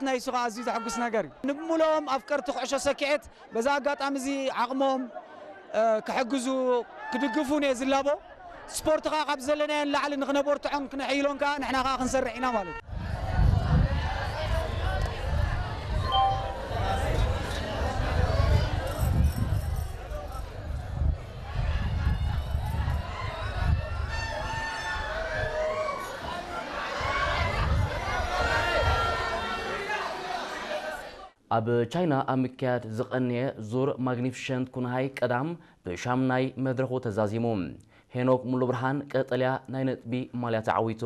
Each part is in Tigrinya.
ናይ እሱ ከዓ ኣዝዩ ዘሐጉስ ነገር እዩ። ንምሉኦም ኣፍቀርቲ ኩዕሾ ሰኪዔት በዛ ኣጋጣሚ እዚ ዓቕሞም ክሕግዙ ክድግፉ እየ ዝላቦ። ስፖርት ከዓ ካብ ዘለናዮ ንላዕሊ ንክነበርትዖን ክነሕይሎን ከዓ ንሕና ከዓ ክንሰርሕ ኢና ማለት እዩ። ኣብ ቻይና ኣብ ምክያድ ዝቐንየ ዙር ማግኒፊሸንት ኩንሃይ ቀዳም ብሻምናይ መድረኹ ተዛዚሙ። ሄኖክ ሙሉ ብርሃን ቀጠልያ ናይ ነጥቢ ማልያ ተዓዊቱ።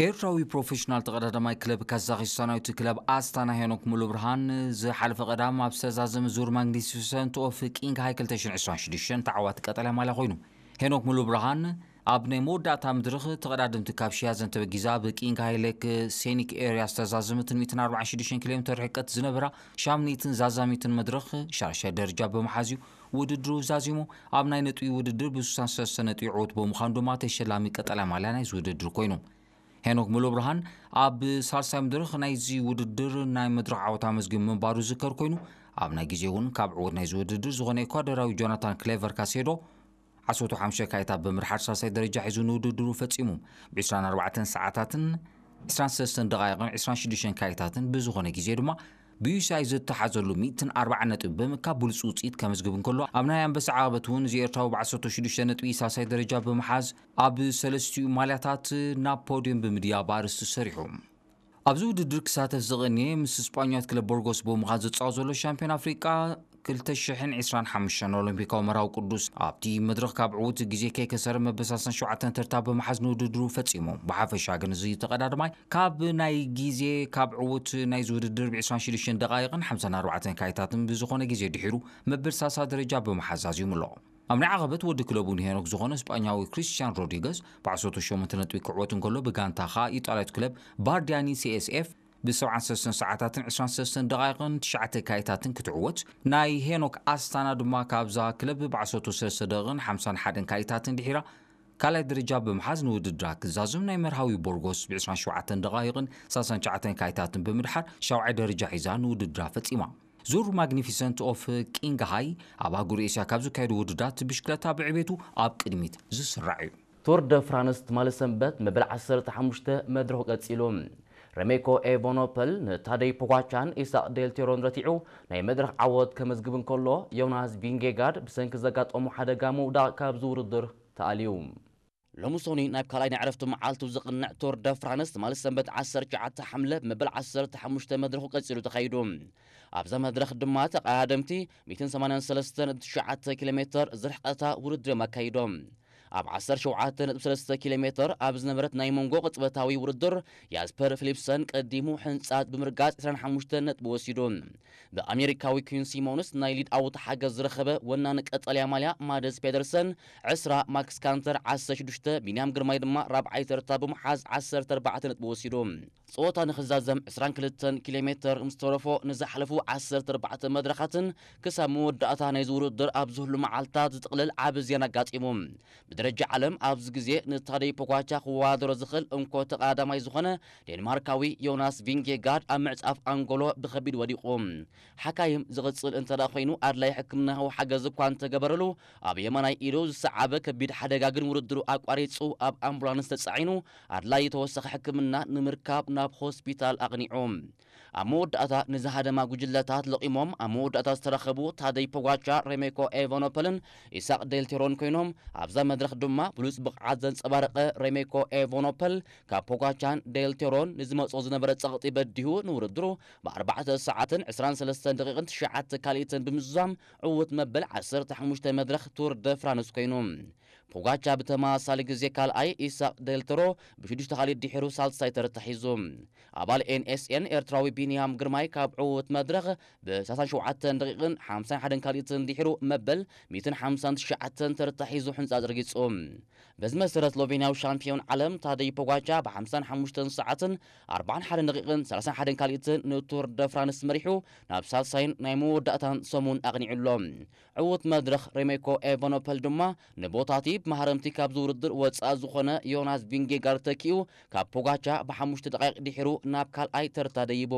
ኤርትራዊ ፕሮፌሽናል ተቐዳዳማይ ክለብ ካዛኺስታናዊት ክለብ ኣስታና ሄኖክ ሙሉ ብርሃን ዝሓለፈ ቀዳም ኣብ ዝተዛዘመ ዙር ማግኒፊሰንት ኦፍ ቂንግ ሃይ ክልተ ሽሕን ዕስራን ሽዱሽተን ተዓዋቲ ቀጠልያ ማልያ ኮይኑ። ሄኖክ ሙሉ ብርሃን ኣብ ናይ መወዳእታ መድረኽ ተቐዳደምቲ ካብ ሽያዘን ተበጊዛ ብቂንግ ሃይ ሌክ ሴኒክ ኤርያ ዝተዛዘመትን ሚእትን ኣርባዓን ሽዱሽተን ኪሎ ሜትር ርሕቀት ዝነበራ ሻምኒትን ዛዛሚትን መድረኽ ሻሻይ ደረጃ ብምሓዝ እዩ ውድድሩ ዛዚሙ። ኣብ ናይ ነጥቢ ውድድር ብ ስሳን ሰለስተ ነጥቢ ዕወት ብምዃኑ ድማ ተሸላሚ ቀጠልያ ማልያ ናይዚ ውድድር ኮይኑ። ሄኖክ ሙሉ ብርሃን ኣብ ሳልሳይ መድረኽ ናይዚ ውድድር ናይ መድረኽ ዓወት ኣመዝጊቡ ምንባሩ ዝዝከር ኮይኑ፣ ኣብ ናይ ግዜ እውን ካብ ዕወት ናይዚ ውድድር ዝኾነ ኤኳዶራዊ ጆናታን ክሌቨር ካሴዶ ዓሰርተ ሓሙሽተ ካይታት ብምድሓር ሳልሳይ ደረጃ ሒዙ ንውድድሩ ፈጺሙ። ብ ዕስራን ኣርባዕተን ሰዓታትን ዕስራን ሰለስተን ደቓይቕን ዕስራን ሽዱሽተን ካይታትን ብዝኾነ ግዜ ድማ ብዩሲኣይ ዝተሓዘሉ ሚእትን ኣርባዓን ነጥቢ ብምእካብ ብሉጽ ውጽኢት ከመዝግብ እንከሎ፣ ኣብ ናይ ኣንበሳ ዓቐበት እውን እዚ ኤርትራዊ ብ ዓሰርተ ሽዱሽተ ነጥቢ ሳልሳይ ደረጃ ብምሓዝ ኣብ ሰለስቲኡ ማልያታት ናብ ፖድዮም ብምድያብ ኣርእስቲ ሰሪሑ። ኣብዚ ውድድር ክሳተፍ ዝቐንየ ምስ ስጳኛዊት ክለብ ቦርጎስ ብምዃን ዝጻወት ዘሎ ሻምፒዮን ኣፍሪቃ ክልተ ሽሕን ዕስራን ሓሙሽተን ኦሎምፒካዊ መርሃዊ ቅዱስ ኣብቲ መድረኽ ካብ ዕዉት ግዜ ከይከሰረ መበል ሰላሳን ሸውዓተን ተርታ ብምሓዝ ንውድድሩ ፈጺሙ። ብሓፈሻ ግን እዚ ተቐዳዳማይ ካብ ናይ ግዜ ካብ ዕዉት ናይዚ ውድድር ብ ዕስራን ሽዱሽተን ደቓይቕን ሓምሳን ኣርባዕተን ካይታትን ብዝኾነ ግዜ ድሒሩ መበል ሳልሳ ደረጃ ብምሓዝ ኣዝዩምሎ። ኣብ ናይ ዓቐበት ወዲ ክለቡ ንሄኖክ ዝኾነ ስጳኛዊ ክሪስቲያን ሮድሪገዝ ብ ዓሰርተ ሸሞንተ ነጥቢ ክዕወት እንከሎ፣ ብጋንታ ኸኣ ኢጣልያዊት ክለብ ባርዲያኒ ሲ ኤስ ኤፍ ብ ሰብዓን ሰለስተን ሰዓታትን ዕስራን ሰለስተን ደቓይቕን ትሽዓተ ካይታትን ክትዕወት፣ ናይ ሄኖክ ኣስታና ድማ ካብዛ ክለብ ብ ዓሰርተ ሰለስተ ደቂቕን ሓምሳን ሓደን ካይታትን ድሒራ ካልኣይ ደረጃ ብምሓዝ ንውድድራ ክዛዝም፣ ናይ መርሃዊ ቦርጎስ ብ ዕስራን ሸውዓተን ደቓይቕን ሰላሳን ትሽዓተን ካይታትን ብምድሓር ሻውዓይ ደረጃ ሒዛ ንውድድራ ፈጺማ። ዙር ማግኒፊሰንት ኦፍ ቂንግ ሃይ ኣብ ኣህጉር ኤስያ ካብ ዝካየዱ ውድድራት ብሽክለታ ብዕቤቱ ኣብ ቅድሚት ዝስራዕ እዩ። ቱር ደ ፍራንስ ትማሊ ሰንበት መበል ዓሰርተ ሓሙሽተ መድረኹ ቀጺሉ። ረሜኮ ኤቨኖፐል ንታደይ ፖጋቻን ኢሳቅ ዴልቴሮን ረቲዑ ናይ መድረኽ ዓወት ከመዝግብ እንከሎ፣ ዮናስ ቪንጌጋርድ ብሰንኪ ዘጋጠሞ ሓደጋ ምውዳቕ ካብዚ ውድድር ተኣልዩ። ሎሚ ሶኒ ናብ ካልኣይ ናይ ዕረፍቲ መዓልቱ ዝቕንዕ ቱር ደ ፍራንስ ትማሊ ሰንበት ዓሰርተ ትሽዓተ ሓምለ መበል ዓሰርተ ሓሙሽተ መድረኹ ቀጺሉ ተኻይዱ። ኣብዛ መድረኽ ድማ ተቐዳደምቲ ሚእትን ሰማንያን ሰለስተን ነጥቢ ትሽዓተ ኪሎ ሜትር ዝርሕቀታ ውድድር እዮም ኣካይዶም። ኣብ ዓሰርተ ሸውዓተ ነጥቢ ሰለስተ ኪሎ ሜትር ኣብ ዝነበረት ናይ መንጎ ቅጽበታዊ ውድድር ያስፐር ፊሊፕሰን ቀዲሙ ሕንጻት ብምርጋጽ ዕስራን ሓሙሽተ ነጥቢ ወሲዱ። ብኣሜሪካዊ ኩዊን ሲሞንስ ናይ ሊድ ኣውት ሓገዝ ዝረኸበ ወናኒ ቀጠልያ ማልያ ማደስ ፔደርሰን ዕስራ፣ ማክስ ካንተር ዓሰርተ ሽዱሽተ፣ ቢንያም ግርማይ ድማ ራብዓይ ተርታ ብምሓዝ ዓሰርተ ኣርባዕተ ነጥቢ ወሲዱ። ጸወታ ንኽዛዘም ዕስራን ክልተን ኪሎ ሜትር ምስ ተረፎ ንዝሓለፉ ዓሰርተ ኣርባዕተ መድረኻትን ክሳብ መወዳእታ ናይዚ ውድድር ኣብ ዝህሉ መዓልታት ዝጥቕልል ዓቢ ዜና ኣጋጢሙ። ብደረጃ ዓለም ኣብዚ ግዜ ንታደይ ፖጋቻ ክወዳደሮ ዝኽእል እንኮ ተቐዳዳማይ ዝኾነ ዴንማርካዊ ዮናስ ቪንጌጋርድ ኣብ ምዕጻፍ ኣንጎሎ ብኸቢድ ወዲቑ። ሓካይም ዝቕጽል እንተ ደኣ ኮይኑ ኣድላይ ሕክምናዊ ሓገዝ እኳ እንተገበረሉ፣ ኣብ የማናይ ኢዱ ዝሰዓበ ከቢድ ሓደጋ ግን ውድድሩ ኣቋሪጹ ኣብ ኣምቡላንስ ተጻዒኑ ኣድላይ ተወሳኺ ሕክምና ንምርካብ ናብ ሆስፒታል ኣቕኒዑ። ኣብ መወዳእታ ንዝሃደማ ጉጅለታት ለቒሞም ኣብ መወዳእታ ዝተረኸቡ ታደይ ፖጋቻ፣ ሬሜኮ ኤቫኖፐልን ኢሳቅ ዴልቴሮን ኮይኖም፣ ኣብዛ መድረኽ ድማ ብሉጽ ብቕዓት ዘንጸባረቐ ሬሜኮ ኤቫኖፐል ካብ ፖጋቻን ዴልቴሮን ንዝመጾ ዝነበረ ጸቕጢ በዲሁ ንውድድሩ ብኣርባዕተ ሰዓትን ዕስራን ሰለስተን ደቂቕን ትሽዓተ ካልኢትን ብምዝዛም ዕዉት መበል ዓሰርተ ሓሙሽተ መድረኽ ቱር ደ ፍራንስ ኮይኑ። ፖጋቻ ብተመሳሳሊ ግዜ ካልኣይ፣ ኢሳቅ ዴልቴሮ ብሽዱሽተ ካልኢት ድሒሩ ሳልሳይ ተርታ ሒዙ። ኣባል ኤን ኤስ ኤን ኤርትራዊ ቢንያም ግርማይ ካብ ዕዉት መድረኽ ብ ሰላሳን ሸውዓተን ደቂቕን ሓምሳን ሓደን ካልኢትን ድሒሩ መበል ሚእትን ሓምሳን ትሽዓተን ተርታ ሒዙ ሕንጻጽ ረጊጹ። በዚ መሰረት ስሎቬንያዊ ሻምፒዮን ዓለም ታደይ ፖጋቻ ብ ሓምሳን ሓሙሽተን ሰዓትን ኣርባዓን ሓደን ደቂቕን ሰላሳን ሓደን ካልኢትን ንቱር ደ ፍራንስ መሪሑ ናብ ሳልሳይን ናይ መወዳእታን ሰሙን ኣቕኒዑ ኣሎ። ዕዉት መድረኽ ሬሜኮ ኤቫኖፐል ድማ ንቦታቲ ብመሃረምቲ ካብዚ ውድድር ወጻኢ ዝኾነ ዮናስ ቪንጌጋርድ ተኪኡ ካብ ፖጋቻ ብሓሙሽተ ደቂቕ ድሒሩ ናብ ካልኣይ ተርታ ደይቡ።